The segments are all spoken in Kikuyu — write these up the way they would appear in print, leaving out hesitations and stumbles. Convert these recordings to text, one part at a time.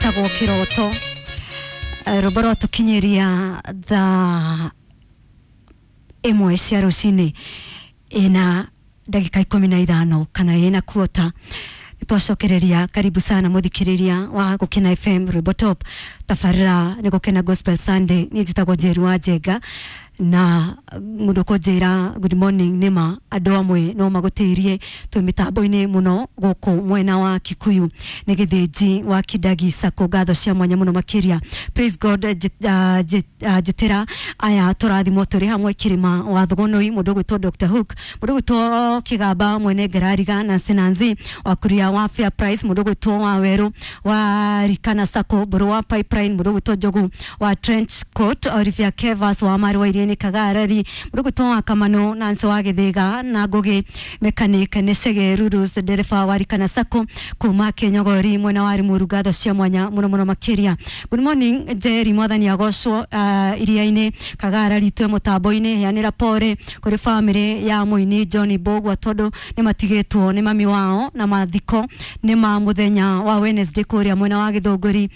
Wĩtagwo Kĩroto. Rwĩmbo rwatũkinyĩria thaa 1 cia rũcinĩ ina ndagĩka 15 kana ina kuota twacokereria. Karibu sana muthikiriria wa Gukena FM Rwimbo Top, tabarira ni Gukena Gospel Sunday. Niĩ njĩtagwo Njeru wa Njenga na mundu kunjira good morning nima andu amwe no magutirie twi mitambo-ini muno guku mwena wa Kikuyu ni Githinji wa Kidagi Sacco. Ngatho cia mwanya muno makiria. Praise God. Njitira aya turathimwo turi hamwe kirima wa Thugunui, mundu gwitwo Dr Hook, mundu gwitwo Kigamba mwene Ngerariga, Nancy Nancy wa kuria wa Fair Price, mundu gwitwo wa Weru wa Rikana Sacco, Mburu wa Pipeline, mundu gwitwo Njogu wa Trench Coat, Olivia Kevas wa Mari wa Iria-inĩ Kagarari, mundu gwitwo wa Kamano, Nancy wa Githiga na Ngugi mechanic nĩ Chege Rurus ndereba wa Rikana Sacco kuma Kenyogori mwena wa Limuru. Ngatho cia mwanya muno muno makiria. Good morning Njeri, mwathani agocwo. Iria-inĩ Kagarari twe mutambo-inĩ. Heanĩra pore kũrĩ family ya mũini John Mbugua tondu nĩ matigĩtwo nĩ mami wao na mathiko nĩ ma muthenya wa Wednesday kũrĩa mwena wa Gĩthũngũri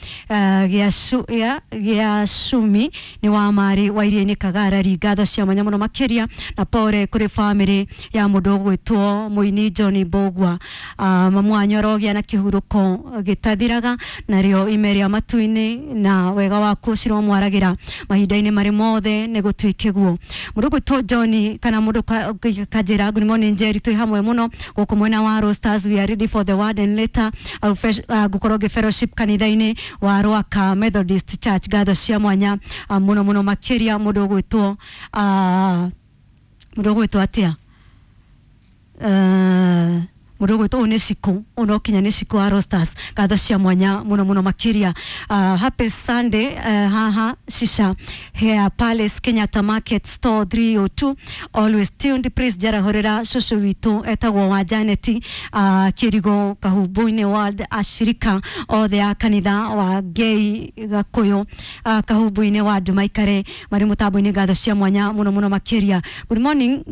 gĩa Cumi nĩ wa Mari wa Iria-inĩ Kagarari. Ngatho cia mwanya muno makiria na pore kũrĩ family ya mũndũ ũgwĩtwo mũini John Mbugua. Mamu wanyu arogĩa na kĩhurũko gĩtathiraga narĩo ime rĩa matu-inĩ na wega waku ciromwaragĩra mahinda-inĩ marĩ mothe nĩ gũtuĩke guo. Mũndũ ũgwĩtwo John kana mũndũ kanjĩra good morning Njeri, twĩ hamwe mũno gũkũ mwena wa Roasters. We are ready for the word and later ngũkorwo ngĩ fellowship kanitha-inĩ wa Rwaka Methodist Church. Ngatho cia mwanya mũno mũno makĩria. Mũndũ ũgwĩtwo atĩa? Mũndũ ũgwĩtwo ũyũ nĩ Cikũ, ũyũ no kinya nĩ Cikũ wa Rosters. Ngatho cia mwanya mũno mũno makĩria. Happy Sunday. Haha Shisha Hair Palace, Kenyatta Market Store 302, always tuned. Please njarahũrĩra cũcũ witũ etagwo wa Janet, Kĩrigo Kahumbu-inĩ Ward, ashirika othe a kanitha wa Ngei Gakũyũ, Kahumbu-inĩ Ward maikare marĩ mũtambo-inĩ. Ngatho cia mwanya mũno mũno makĩria. Good morning.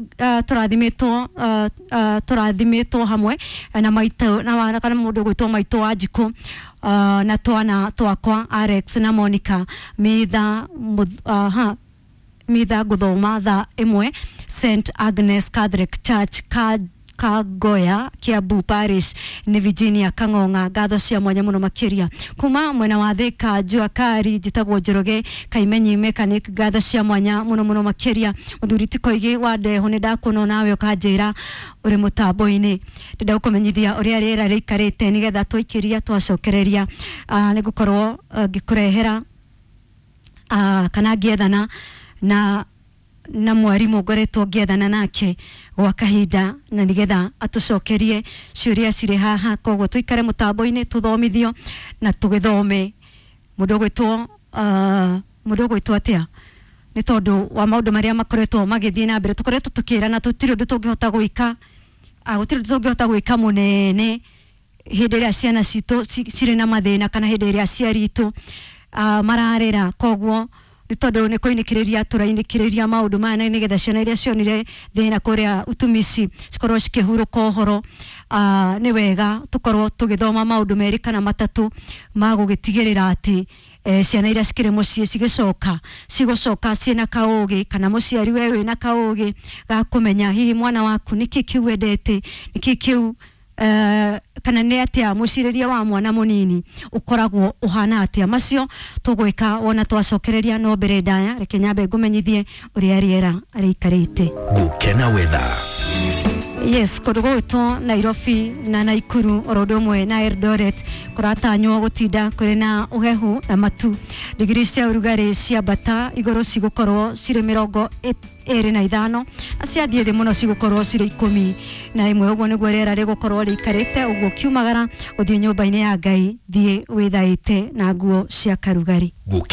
Tũrathimĩtwo hamwe na maitũ na kana mũndũ gwĩtwo maitũ wa Njikũ na twana twakwa Alex na Monica Mitha ha Mitha gũthoma thaa 1 St Agnes Catholic Church ka Kagoya Kiambu Parish nĩ Virginia Kang'ong'a. Ngatho cia mwanya mũno makĩria. Kuma mwena wa Thika Jua Kari, njĩtagwo Njoroge Kaimenyi mechanic. Ngatho cia mwanya mũno mũno makĩria. Mũthuri ti Koigi wa Ndeho, nĩ ndakuona nawe ũkanjĩra ũrĩ mũtambo-inĩ. Ndĩrenda gũkũmenyithia ũrĩa rĩera rĩikarĩte nĩgetha twaikĩria twacokereria nĩ ngũkorwo ngĩkũrehera kana ngĩethana na mwarimũ ngoretwo ngĩethana nake gwa kahinda na nĩgetha atũcokerie ciũria cirĩ haha. Koguo tũikare mũtambo-inĩ tũthomithio na tũgĩthome. Mũndũ ũgwĩtwo atĩa? Nĩ tondũ wa maũndũ marĩa makoretwo magĩthiĩ na mbere, tũkoretwo tũkĩrana tũtirĩ ũndũ tũngĩhota gwĩka, gũtirĩ ũndũ tũngĩhota gwĩka mũnene hĩndĩ ĩrĩa ciana citũ cirĩ na mathĩna kana hĩndĩ ĩrĩa aciari itũ mararĩra. Koguo nĩ tondũ nĩ kũinĩkĩrĩria tũrainĩkĩrĩria maũndũ maya na nĩgetha ciana iria cionire thĩna kũrĩa utumici cikorwo cikĩhurũka ũhoro, nĩ wega tũkorwo tũgĩthoma maũndũ merĩ kana matatũ ma gũgĩtigĩrĩra atĩ ciana iria cikĩrĩ mũciĩ cigĩcoka cigũcoka ciĩna kaũgĩ kana mũciari we wĩna kaũgĩ ga kũmenya hihi mwana waku nĩkĩ kĩu wendete, nĩkĩ kĩu kana nĩ atĩa mũcirĩrie wa mwana mũnini ũkoragwo ũhana atĩa. Macio tũgwĩka wona twacokereria, no mbere ndaya reke nyambe ngũmenyithie ũrĩa rĩera rĩikarĩte. Gukena Weather. Yes, kũndũ gũgwĩtwo Nairobi na Naikuru oro ũndũ ũmwe na Eldoret kũratanywo gũtinda kũrĩ na ũhehu na matu. Digiri cia ũrugarĩ ciambata igũrũ cigũkorwo cirĩ 25 na ciathiĩ thĩ mũno cigũkorwo cirĩ 11. Ũguo nĩguo rĩera rĩgũkorwo rĩikarĩte. Ũguo kiumagara ũthiĩ nyũmba-inĩ ya Ngai, thiĩ wĩthaĩte na nguo cia karugarĩ. Gukena.